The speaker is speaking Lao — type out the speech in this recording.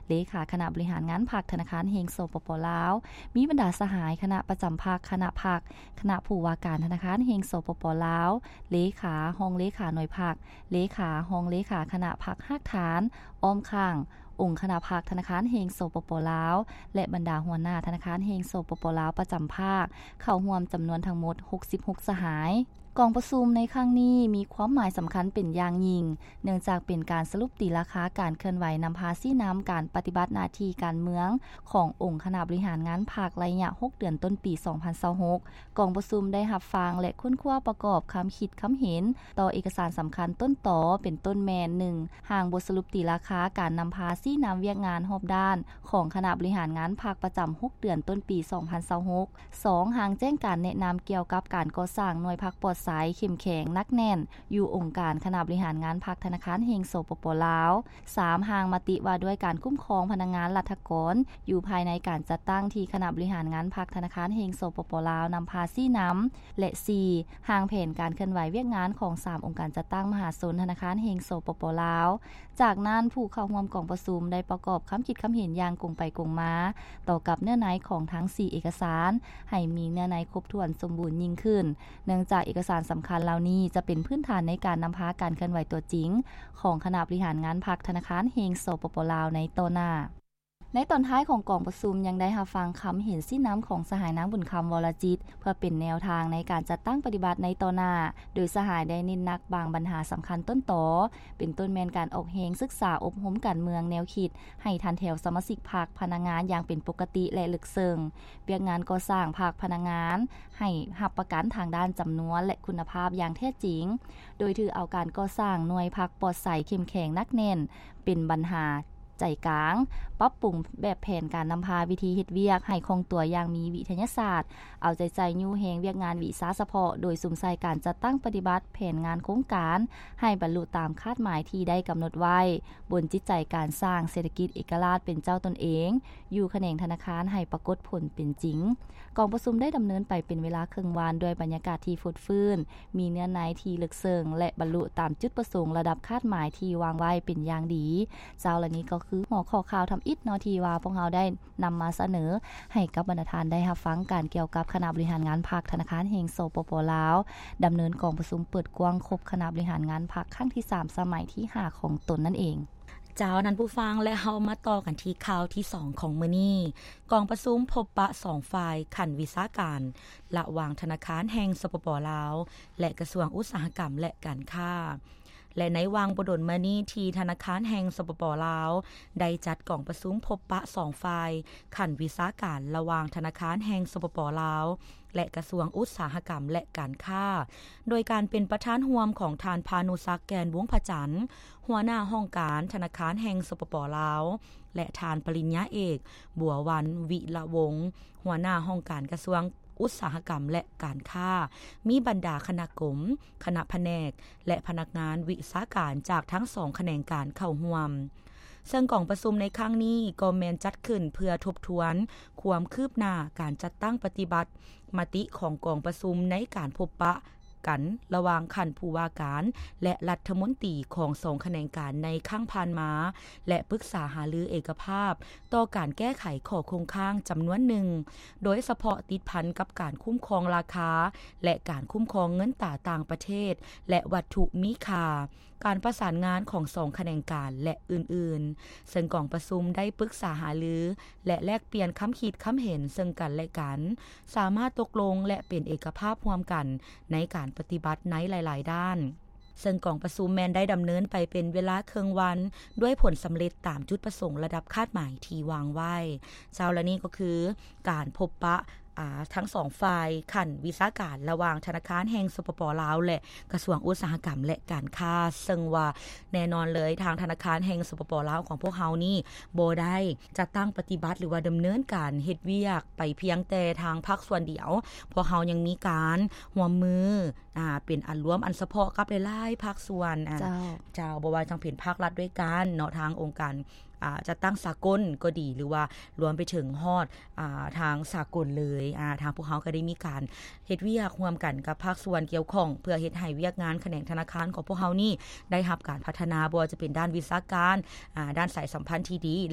ເລຂາຄະນະບໍລິຫານງານພັກທະນາຄານແຫ່ງ ສປປ ລາວ, ມີບັນດາສະຫາຍຄະນະປະຈຳພັກ, ຄະນະພັກ, ຄະນະຜູ້ວ່າການທະນາຄານແຫ່ງ ສປປ ລາວ, ເລຂາ, ຮອງເລຂາໜ່ວຍພັກ, ເລຂາ, ຮອງເລຂາຄະນະພັກຮາກຖານ, ອ້ອມຂ້າງ, ອົງຄະນະພັກທະນາຄານແຫ່ງ ສປປ ລາວ ແລະ ບັນດາຫົວໜ້າທະນາຄານແຫ່ງ ສປປ ລາວ ປະຈຳພາກ ເຂົ້າຮ່ວມຈຳນວນທັງໝົດຫົກສິບຫົກສະຫາຍ. ກອງປະຊຸມໃນຄັ້ງນີ້ມີຄວາມໝາຍສຳຄັນເປັນຢ່າງຍິ່ງ, ເນື່ອງຈາກເປັນການສະຫຼຸບຕີລາຄາການເຄື່ອນໄຫວນຳພາຊີ້ນຳການປະຕິບັດໜ້າທີ່ການເມືອງຂອງອົງຄະນະບໍລິຫານງານພັກໄລຍະຫົກເດືອນຕົ້ນປີສອງພັນຊາວຫົກ. ກອງປະຊຸມໄດ້ຮັບຟັງ ແລະ ຄົ້ນຄວ້າປະກອບຄຳຄິດຄຳເຫັນຕໍ່ເອກະສານສຳຄັນຕົ້ນຕໍ ເປັນຕົ້ນແມ່ນ ໜຶ່ງ ຮ່າງບົດສະຫຼຸບຕີລາຄາການນຳພາຊີ້ນຳວຽກງານຮອບດ້ານຂອງຄະນະບໍລິຫານງານພັກປະຈຳຫົກເດືອນຕົ້ນປີສອງພັນຊາວຫົກ, ສອງ ຮ່າງແຈ້ງການແນະນຳກ່ຽວກັບການກໍ່ສ້າງໜ່ວຍພັກປອດໃສ, ເຂັ້ມແຂງ, ໜັກແໜ້ນ ຢູ່ອົງການຄະນະບໍລິຫານງານພັກທະນາຄານແຫ່ງ ສປປ ລາວ, ສາມ ຮ່າງມະຕິວ່າດ້ວຍການຄຸ້ມຄອງພະນັກງານລັດຖະກອນຢູ່ພາຍໃນການຈັດຕັ້ງທີ່ຄະນະບໍລິຫານງານພັກທະນາຄານແຫ່ງ ສປປ ລາວ ນຳພາຊີ້ນຳ ແລະ ສີ່ ຮ່າງແຜນການເຄື່ອນໄຫວວຽກງານຂອງສາມອົງການຈັດຕັ້ງມະຫາຊົນທະນາຄານແຫ່ງ ສປປ ລາວ. ຈາກນັ້ນ, ຜູ້ເຂົ້າຮ່ວມກອງປະຊຸມໄດ້ປະກອບຄຳຄິດຄຳເຫັນຢ່າງກົງໄປກົງມາຕໍ່ກັບເນື້ອໃນຂອງທັງສີ່ເອກະສານ ໃຫ້ມີເນື້ອໃນຄົບຖ້ວນສົມບູນຍິ່ງຂຶ້ນ, ເນື່ອງຈາກເອກະສານສຳຄັນເຫຼົ່ານີ້ຈະເປັນພື້ນຖານໃນການນຳພາການເຄື່ອນໄຫວຕົວຈິງຂອງຄະນະບໍລິຫານງານພັກທະນາຄານແຫ່ງ ສປປ ລາວ ໃນຕໍ່ໜ້າ. ໃນຕອນທ້າຍຂອງກອງປະຊຸມຍັງໄດ້ຮັບຟັງຄຳເຫັນຊີ້ນຳຂອງສະຫາຍນາງບຸນຄຳ ວໍລະຈິດ ເພື່ອເປັນແນວທາງໃນການຈັດຕັ້ງປະຕິບັດໃນຕໍ່ໜ້າ, ໂດຍສະຫາຍໄດ້ເນັ້ນໜັກບາງບັນຫາສຳຄັນຕົ້ນຕໍ ເປັນຕົ້ນແມ່ນການອອກແຮງສຶກສາອົບຮົມການເມືອງແນວຄິດໃຫ້ທັນແຖວສະມາຊິກພັກ, ພະນັກງານຢ່າງເປັນປົກກະຕິ ແລະ ເລິກເຊິ່ງ, ວຽກງານກໍ່ສ້າງພັກ, ພະນັກງານໃຫ້ຮັບປະກັນທາງດ້ານຈຳນວນ ແລະ ຄຸນນະພາບຢ່າງແທ້ຈິງ, ໂດຍຖືເອົາການກໍ່ສ້າງໜ່ວຍພັກປອດໃສ, ເຂັ້ມແຂງ, ໜັກແໜ້ນ ເປັນບັນຫາໃຈກາງ, ປັບປຸງແບບແຜນການນຳພາ, ວິທີເຮັດວຽກໃຫ້ຄ່ອງຕົວຢ່າງມີວິທະຍາສາດ, ເອົາໃຈໃສ່ຍູ້ແຮງວຽກງານວິຊາສະເພາະ ໂດຍສຸມໃສ່ການຈັດຕັ້ງປະຕິບັດແຜນງານໂຄງການໃຫ້ບັນລຸຕາມຄາດໝາຍທີ່ໄດ້ກຳນົດໄວ້, ບົນຈິດໃຈການສ້າງເສດຖະກິດເອກະລາດເປັນເຈົ້າຕົນເອງ ຢູ່ຂະແໜງທະນາຄານໃຫ້ປາກົດຜົນເປັນຈິງ. ກອງປະຊຸມໄດ້ດຳເນີນໄປເປັນເວລາເຄິ່ງວັນ ດ້ວຍບັນຍາກາດທີ່ຟົດຟື້ນ, ມີເນື້ອໃນທີ່ເລິກເຊິ່ງ ແລະ ບັນລຸຕາມຈຸດປະສົງລະດັບຄາດໝາຍທີ່ວາງໄວ້ເປັນຢ່າງດີ. ເຈົ້າ ແລະ ນີ້ກໍຄືຫົວຂໍ້ຂ່າວທຳອິດເນາະ ທີ່ວ່າພວກເຮົາໄດ້ນຳມາສະເໜີໃຫ້ກັບບັນດາທ່ານໄດ້ຮັບຟັງກັນ ກ່ຽວກັບຄະນະບໍລິຫານງານພັກທະນາຄານແຫ່ງ ສປປ ລາວ ດຳເນີນກອງປະຊຸມເປີດກວ້າງຄົບຄະນະບໍລິຫານງານພັກຄັ້ງທີສາມ ສະໄໝທີຫ້າຂອງຕົນນັ້ນເອງ. ເຈົ້າ ທ່ານຜູ້ຟັງ ແລະ ເຮົາມາຕໍ່ກັນທີ່ຂ່າວທີສອງຂອງມື້ນີ້. ກອງປະຊຸມພົບປະສອງຝ່າຍຂັ້ນວິຊາການ ລະຫວ່າງທະນາຄານແຫ່ງ ສປປ ລາວ ແລະ ກະຊວງອຸດສາຫະກຳ ແລະ ການຄ້າ. ແລະ ໃນຫວ່າງບໍ່ດົນມານີ້ ທີ່ທະນາຄານແຫ່ງ ສປປ ລາວ ໄດ້ຈັດກອງປະຊຸມພົບປະສອງຝ່າຍຂັ້ນວິຊາການ ລະຫວ່າງທະນາຄານແຫ່ງ ສປປ ລາວ ແລະ ກະຊວງອຸດສາຫະກຳ ແລະ ການຄ້າ ໂດຍການເປັນປະທານຮ່ວມຂອງທ່ານ ພານຸສັກ ແກ່ນວົງພະຈັນ ຫົວໜ້າຫ້ອງການທະນາຄານແຫ່ງ ສປປ ລາວ ແລະ ທ່ານ ປະລິນຍາເອກ ບົວວັນ ວິລະວົງ ຫົວໜ້າຫ້ອງການກະຊວງອຸດສາຫະກຳ ແລະ ການຄ້າ, ມີບັນດາຄະນະກົມ, ຄະນະພະແນກ ແລະ ພະນັກງານວິຊາການຈາກທັງສອງຂະແໜງການເຂົ້າຮ່ວມ. ເຊິ່ງກອງປະຊຸມໃນຄັ້ງນີ້ກໍແມ່ນຈັດຂຶ້ນເພື່ອທົບທວນຄວາມຄືບໜ້າການຈັດຕັ້ງປະຕິບັດມະຕິຂອງກອງປະຊຸມໃນການພົບປະ ກັນລະຫວ່າງຂັ້ນຜູ້ວ່າການ ແລະ ລັດຖະມົນຕີຂອງສອງຂະແໜງການໃນຄັ້ງຜ່ານມາ ແລະ ປຶກສາຫາລືເອກະພາບຕໍ່ການແກ້ໄຂຂໍ້ຄົງຄ້າງຈຳນວນໜຶ່ງ, ໂດຍສະເພາະຕິດພັນກັບການຄຸ້ມຄອງລາຄາ ແລະ ການຄຸ້ມຄອງເງິນຕາຕ່າງປະເທດ ແລະ ວັດຖຸມີຄ່າ, ການປະສານງານຂອງສອງຂະແໜງການ ແລະ ອື່ນໆ. ເຊິ່ງກອງປະຊຸມໄດ້ປຶກສາຫາລື ແລະ ແລກປ່ຽນຄຳຄິດຄຳເຫັນເຊິ່ງກັນ ແລະ ກັນ, ສາມາດຕົກລົງ ແລະ ເປັນເອກະພາບຮ່ວມກັນໃນການປະຕິບັດໃນຫຼາຍໆດ້ານ. ເຊິ່ງກອງປະຊຸມແມ່ນໄດ້ດຳເນີນໄປເປັນເວລາເຄິ່ງວັນ ດ້ວຍຜົນສຳເລັດຕາມຈຸດປະສົງລະດັບຄາດໝາຍທີ່ວາງໄວ້. ເຈົ້າ ແລະ ນີ້ກໍຄືການພົບປະ ອາ ທັງສອງຝ່າຍຂັ້ນວິຊາການ ລະຫວ່າງທະນາຄານແຫ່ງ ສປປ ລາວ ແລະ ກະຊວງອຸດສາຫະກຳ ແລະ ການຄ້າ, ເຊິ່ງວ່າແນ່ນອນເລີຍ ທາງທະນາຄານແຫ່ງ ສປປ ລາວ ຂອງພວກເຮົານີ້ບໍ່ໄດ້ຈັດຕັ້ງປະຕິບັດ ຫຼືວ່າດຳເນີນການເຮັດວຽກໄປພຽງແຕ່ທາງພາກສ່ວນດຽວ. ພວກເຮົາຍັງມີການຮ່ວມມື ອາ ເປັນອັນລວມອັນສະເພາະກັບຫຼາຍໆພາກສ່ວນ ອາ ເຈົ້າ ເຈົ້າ ບໍ່ວ່າຈະເປັນພາກລັດດ້ວຍກັນເນາະ ທາງອົງການ ອາ ຈັດຕັ້ງສາກົນກໍດີ ຫຼືວ່າລວມໄປເຖິງຮອດ ອາ ທາງສາກົນເລີຍ ອາ ທາງພວກເຮົາກໍໄດ້ມີການເຮັດວຽກຮ່ວມກັນກັບພາກສ່ວນກ່ຽວຂ້ອງ ເພື່ອເຮັດໃຫ້ວຽກງານຂະແໜງທະນາຄານຂອງພວກເຮົານີ້ໄດ້ຮັບການພັດທະນາ ບໍ່ວ່າຈະເປັນດ້ານວິຊາການ ອາ ດ້ານສາຍສຳພັນທີ່ດີ ແລະ